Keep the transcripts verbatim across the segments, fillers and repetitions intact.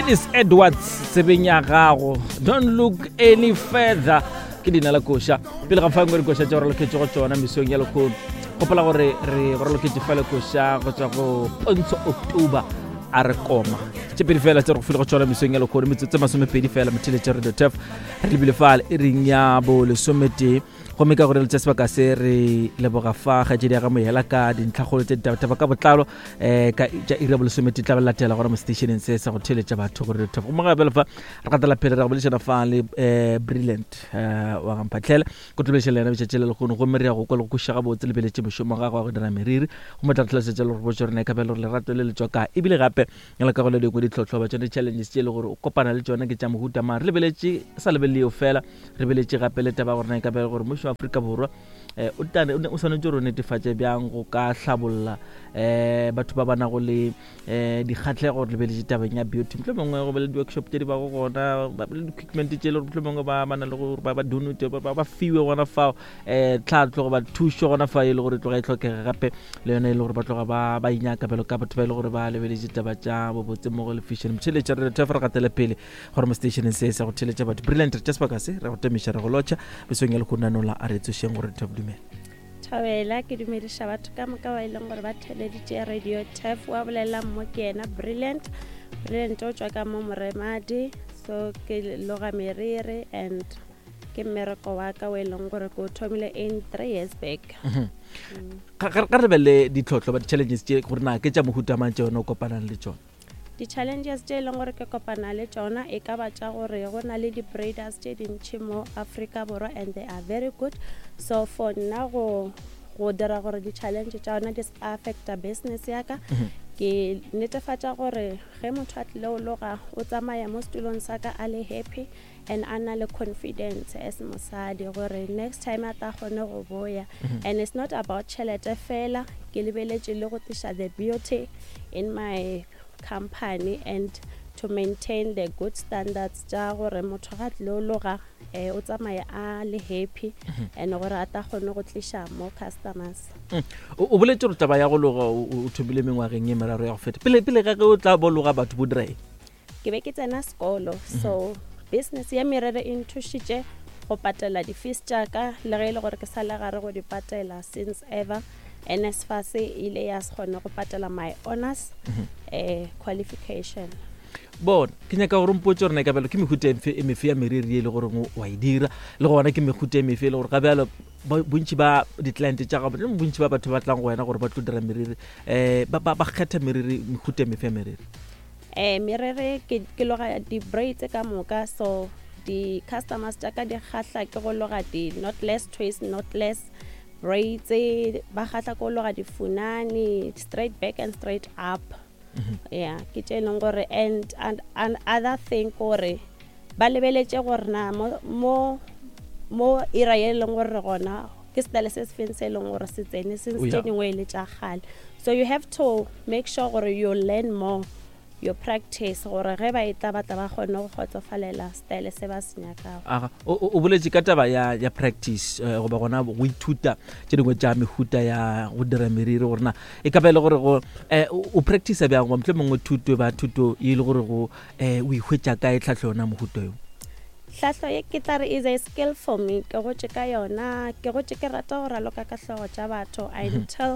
Dennis Edwards tsebeng ya gago, "Don't Look Any Further" ke leina la koša. Pele ga fangwe dikoša tša go raloketše go tšona mesong ya lekgono, gopola gore re go raloketše fa le koša go tšwa go Pontsho October, a re koma tše pedi fela tse re go file go tšona mesong ya lekgono. Metsotso masomepedi fela, motheletša Radio Turf, re lebile fale e reng ya bo lesometee. Gomme ka gore le tša sebaka se, re leboga fa kgaetšedi ya ga Moyela ka dintlhakgolo tse ditabataba ka botlalo um ka tša iri ya bolesometee tla ba latela gona mo stationeng se sa go theletša batho gore Radio Turf. Gomme gape fa re gatela pele, re go boledišana fa le um Brilliant um wa gamphatlhele ko tlobediša le yena betšatši le lekgono. Gomme re ya go kwa le go kwešiša gabotse lebeletše mošomo wa gagwe wa go dira meriri, gomme tla re tlhalosetša le gore botse rena e ka ba le gore lerato le le tswa kae, ebile gape le ka go le dingwe ditlhotlho ba tsone, di-challenges tše e le gore o kopana le tsone ke tša mohuta mang. Re lebeletše sa lebelele eo fela, re lebeletše gape le taba ya gore na e ka ba le gore mmušo wa Afrika Borwa um o tane- o ne- o swanetše gore o netefatše bjang go ka hlabolla um batho ba ba nago le um dikgatlhego. Re lebeletše tabeng ya beauty, motlho mongwe go be le di-workshop tše di bago gona, ba be le di-equipment tše e le gore motlho mongwe ba ba na le gore ba ba donate, ba ba fiwe gona fao um tlhatlo goba thušo gona fa e le gore e tloga e tlhokega, gape le yone e le gore ba tloga ba ba inyaka bjalo ka batho ba e le gore ba lebeletše taba tša bobotse mmogo le fashion. Motheletša re re gatele pele gore mo stationeng se sa go theletša batho, Brilliant, re tša sebaka se re go temiša, re go lotšha besong ya lekgonano la a re tsošeng gore re dumela. Thabela, ke dumediša batho ka moka ba e leng gore ba theleditše Radio Turf. Wa bolelang mo ke yena Brilliant. Brilliant o tswa ka mo Moremadi. So ke loga meriri and ke mmereko wa ka o e leng gore ke o thomile in three years back. Ga ga- ga re lebelele ditlhotlho ba di-challenges tše gore na ke tša mohuta mang tše yone o kopanang le tšona. Di-challenges tše e leng gore ke kopana le tšona e ka ba tša gore go na le di-braiders tše dintšhi mo Afrika Borwa and they are very good. So for nna go go dira gore di-challenge tša yona di se affecta business ya ka, ke netefatša gore ge motho a tlile o loga, o tsamaya mo setulong sa ka a le happy and a na le confidence as mosadi gore next time a tla kgone go boya. And it's not about tšhelete fela, ke lebeletše le go tliša the beauty in my company and to maintain the good standards tša gore motho ga tlile o loga um o tsamaya a le happy and gore a tla kgone go tliša more customers. o o boletse gore taba ya go loga o o thomile mengwageng e meraro ya go feta. Pele pele ga ge o tla bo loga batho, bo dira eng? Ke be ke tsena sekolo, so business ya merere e nthušitše go patela di-fees tša ka, le ge e le gore ke sa le gare go di patela since ever. N S F A S e ile ya se kgone go patela my honors um qualification. Bona, ke nyaka gore mpotse gore na e ka bjalo ke mehuta e mefe e mefe ya meriri e le goreng wa e dira, le gona ke mehuta e mefe e le gore ga bjalo ba- bontši ba di-client tša gago, le bontši ba batho ba tlang go wena gore ba tlo dira meriri, um ba ba- ba kgetha meriri, mehuta e mefe ya meriri? um merere ke ke loga di-braids ka moka. So di-customers tša ka di kgahla ke go loga di-knotless twist, knotless braids, ba kgahla ke go loga difunani, straight back and straight up. Yeah, ke tše e leng gore and, and, and other thing kore ba lebeletše gore na mo, mo mo era ye e leng gore re gona ke style se se feng se e leng gore se tsene since Oh, yeah. tše dingwe e le tša kgale. So you have to make sure gore you learn more, you practice, gore ge ba e tla batla ba kgone go kgotsofalela style se ba se nyakago. Aga, o o- o boletse ka taba ya ya practice eh, goba gona go ithuta tše dingwe tša mehuta ya go dira meriri, gore na e ka ba e le gore go eh, o o practice bjang, goba motlho mongwe thuto ba thuto e le gore go eh, o ihwetša kae tlhahlo yona mohuta yo? Hlahlo ye ke tla re is a skill for me. Ke gotše ka yona, ke gotše ke rata go raloka ka hlogo tša batho until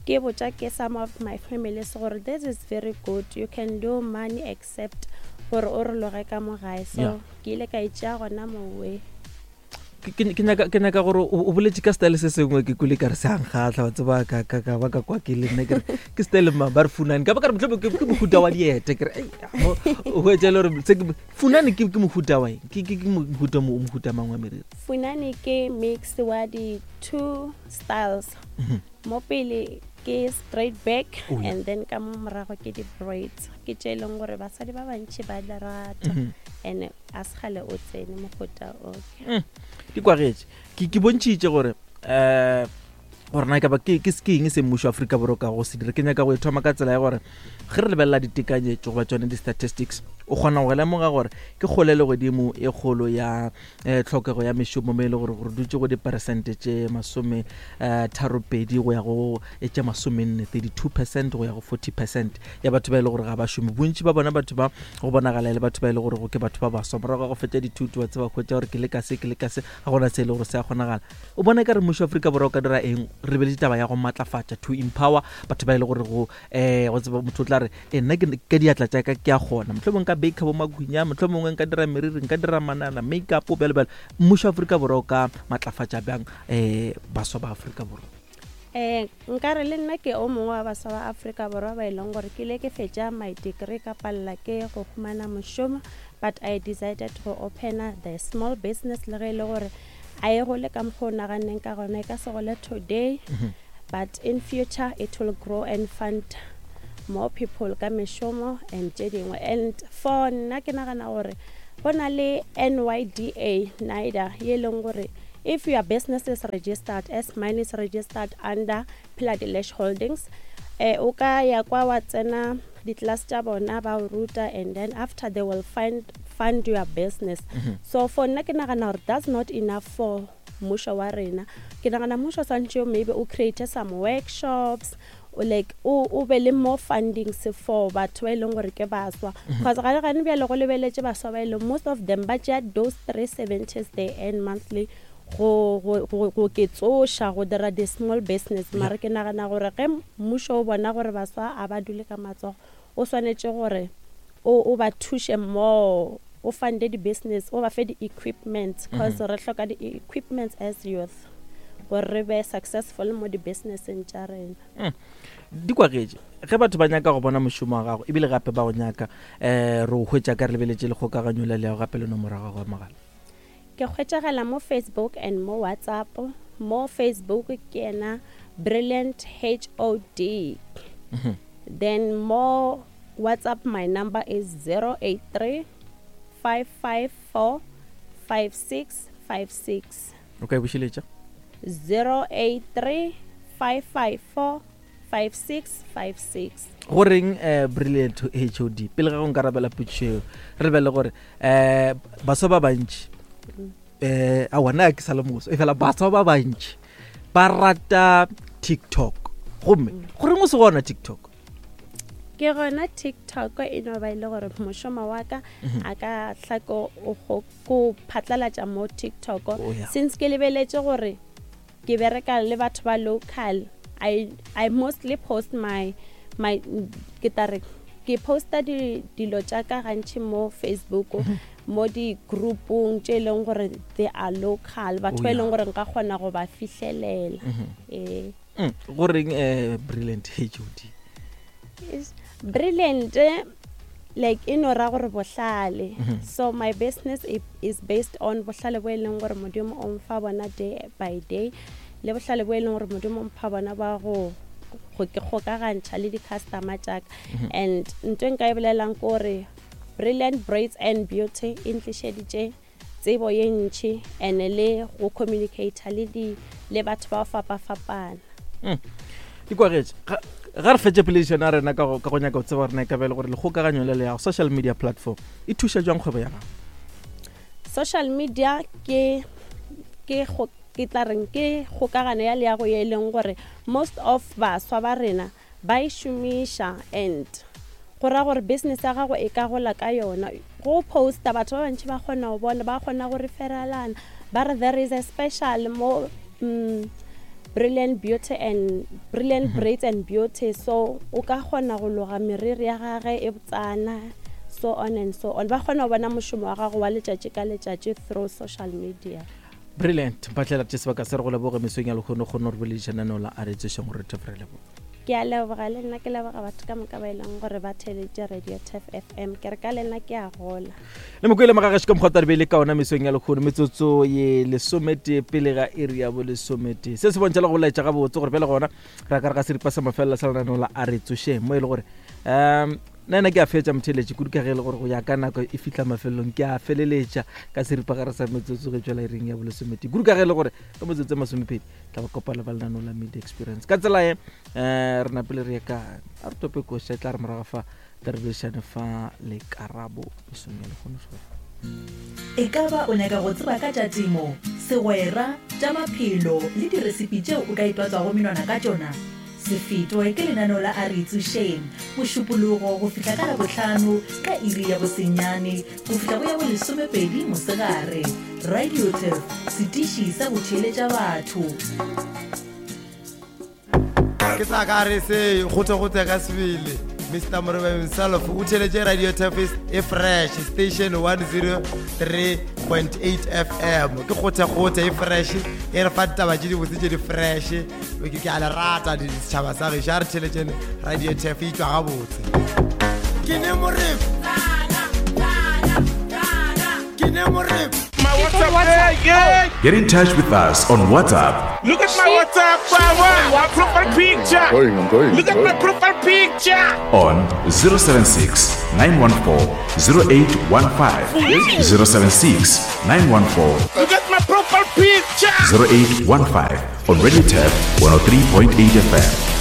ke botša ke some of my families gore this is very good, you can do money except gore o re loge ka mo gae. So Yeah. ke ile ka itšea gona mowe. Ke- ke ke nyaka ke nyaka gore o o boletse ka style se sengwe, ke kwele ka re se ankgatlha wa tseba, ka ka ka ba ka kwa ke le nna ke re ke style ma ba re funane, ka ba ka re mohlomong ke ke mohuta wa diete. Ke re ei, mo o hwetša e le gore se ke funane ke ke mohuta wa eng, ke ke ke mohuta mo mohuta mang wa meriri? Funane ke mix wa di two styles. Mo pele ke straight back Oh, yeah. and then ka mo morago ke di-braids, ke tše e leng gore basadi ba bantšhi ba di rata Mhm. and a se kgale o tsene mohuta oke. Mm, di kwagetše ke ke bontšhitše gore um gore na e ka ba ke ke ke eng se mmušo wa Afrika Borwa ka go se dira. Ke nyaka go e thoma ka tsela ya gore ge re lebelela ditekanyetšo goba tsone di-statistics O kgona go lemoga gore ke kgole le godimo e kgolo ya eh, tlhokego ya mešomo mo e le gore gore dutse go diperesente tše masome eh, tharopedi go ya go e tše masomenne thirty-two percent go ya go forty percent ya batho ba e le gore ga ba šome. Bontši ba bona batho ba go bonagala e le batho ba e le gore ke batho ba baswa morago ga go fetša dithuto, wa tseba hwetša gore ke le ka se ke le ka se, ga gona se e le gore se a kgonagala. O bona ka re mmušo wa Afrika Borwa o ka dira eng re beletše taba ya go matlafatša, to empower batho ba e le gore go eh go tseba motho o tla re e nna ke ka diatla tša ka ke a kgona, mohlomongwe nka baker bo magwinya, mohlomongwe nka dira meriri, nka dira manana, makeup, bjalo bjalo. Mmušo wa Afrika Borwa o ka matlafatša bjang eh baswa ba Afrika Borwa? Eh nkare le nna ke o mongwe wa baswa ba Afrika Borwa ba e leng gore ke ile ke fetša my degree ka palela ke go humana mošomo, but I decided go opena the small business le ge e le gore a e gole ka mokgwa o naganneng ka gona, e ka se gole today, but in future it will grow and fund more people ka mešomo and tše dingwe. And for nna ke nagana gore go na le N Y D A, NYDA, ye leng gore if your business is registered, as mine is registered under Philadilesh Holdings, eh, o ka ya kwa wa tsena di-class tša bona ba o ruta, and then after they will find, fund your business. Mm-hmm. So for nna ke nagana gore that's not enough for mmušo wa rena. Ke nagana mmušo swantše maybe o create some workshops, o like o, o be le more funding se for batho ba e leng gore ke baswa. Mm-hmm. Because ga le gane bjale go lebeletše baswa ba e leng most of them ba tšea those three seventies they earn monthly go, go, go, go ke tsoša go dira di small business. Yeah. Mara ke nagana gore ge mmušo o bona gore baswa a ba dule ka matsogo, o swanetše gore o, o ba thuše more, o funde di-business, o ba fe di-equipment, 'cause Mm-hmm. re hloka di-equipment as youth gore re be successful mo di-businesseng tša rena. Mm. Di kwagetše ge batho ba nyaka go bona mošomo wa gago ebile gape ba go nyaka, eh, re o hwetša ka re lebeletše le kgokaganyo le leago gape le nomoro ya gago ya mogala. Ke hwetšagala mo Facebook and mo WhatsApp. Mo Facebook ke yena Brilliant H O D. Mm-hmm. Then mo WhatsApp my number is zero eight three, five five four, five six five six. O ka e bušeletša? zero eight three, five five four, five six five six. Go reng, eh, Brilliant H O D? Pele ga go nkarabela potšišo eo, re lebelele gore, eh, baswa ba bantši, eh, aowa, nna ke sa le moswa, efela baswa ba bantši ba rata TikTok. Gomme, goreng o se gona TikTok? Ke gona TikTok e no ba e le gore mošomo wa ka Mhm. a ka tla ko, o go, ko phatlalatša mo TikTok. Oh, yeah. Since ke lebeletše gore ke bereka le batho ba local, I, I mostly post my, my, ke tla re, ke posta di, dilo tša ka gantši mo Facebook, Mhm. mo di-groupong tše e leng gore they are local, batho Oh, ba e leng yeah. gore nka kgona go ba fihlelela. Mhm. Ee. Mm, goreng, eh, Brilliant H O D? Is Brilliant, like e no ra gore bohlale. Mhm. So my business i-, is based on bohlale bo e leng gore Modimo o mfa bona day by day, le bohlale bo e leng gore Modimo o mpha bona ba go, go ke kgokagantšha le di-customer tša ka. Mhm. And ntho e nka e bolelang ke gore Brilliant Braids and Beauty e ntlišeditše tsebo ye ntši and le go communicate le di, le batho ba fapafapana. Mm. Di kwagetše. Ga, ga re fetše poledišano ya rena ka go, ka go nyaka go tseba gore na e ka ba e le gore lekgokaganyo le le ya go social media platform e thuša jwang kgwebo ya gago? Social media ke, ke go, ke tla reng ke kgokagano ya leago ye e leng gore most of baswa ba rena ba e šomiša, and go ra gore business ya gago e ka gola ka yona. Go posta batho ba bantši ba kgona go bona, ba kgona go referalana, ba re there is a special mo, mm, Brilliant Beauty and Brilliant Mm-hmm. Braids and Beauty, so o ka kgona go loga meriri ya gage e botsana, so on and so on. Ba kgona go bona mošomo wa gago wa letšatši ka letšatši through social media. Brilliant. Mpatlela tše sebaka se re go leboge mesong ya lehono, kgone gore boledišana nao la a re tsošeng gore re thefere leboga. Ke a leboga le nna, ke leboga batho ka moka ba e leng gore ba theeleditše Radio Turf F M. Ke re ka le nna ke a gola. Le mokwele magagešo ka mokgwa o tla be le ka ona mesong ya lehono, metsotso ye lesometee pele ga iri ya bolesometee. Se se bontšha le go laetša gabotse gore bjale gona re ka re ga seripa sa mafelelo sa lenaneo la a re tsošeng, mo e le gore, um, nna ena ke a fetša motheeletši kudu ka ge e le gore go ya ka nako e fihla mafelelong ke a feleletša ka seripa gare sa metsotso ge tšwela iring ya bolesometee, kudu ka ge e le gore ka metsotso e masomepedi tla ba kopana ba lenaneo la Media Experience. Ka tsela ye, eh, re napile re ye ka a re tope koša, e tla re morago fa Tla re boledišane fa le Karabo mesong ya lehono. E ka ba o nyaka go tseba ka tša temo, segwera, tša maphelo le diresipi tšeo o ka itwatswago menwana ka tšona? Se fetwe ke lenaneo la A Re Itsošeng, Mošupologo go fihla ka Labohlano ka iri ya bosenyane go fihla go ya bolesomepedi mosegare. Radio Turf, setiši sa go theeletša batho. Ke sa ka re se gote-gote ka sebele. Mister Morebe himself o theletše Radio Turf e fresh station one zero three point eight F M. Ke gote-gote e fresh, e re fa ditaba tše dibotse tše di fresh. Ke ke a le rata ditšhaba sa gešo, a re theletšeng Radio Turf e tšwa gabotse. Ke ne Morebe. Ke ne Morebe. My WhatsApp, yeah, yeah. Get in touch with us on WhatsApp. Look at my WhatsApp, my, my profile picture. I'm going, I'm going, Look at I'm my going. profile picture. On zero seven six, nine one four, zero eight one five. zero seven six, nine one four. Look at my profile picture. zero eight one five on Radio Turf one oh three point eight F M.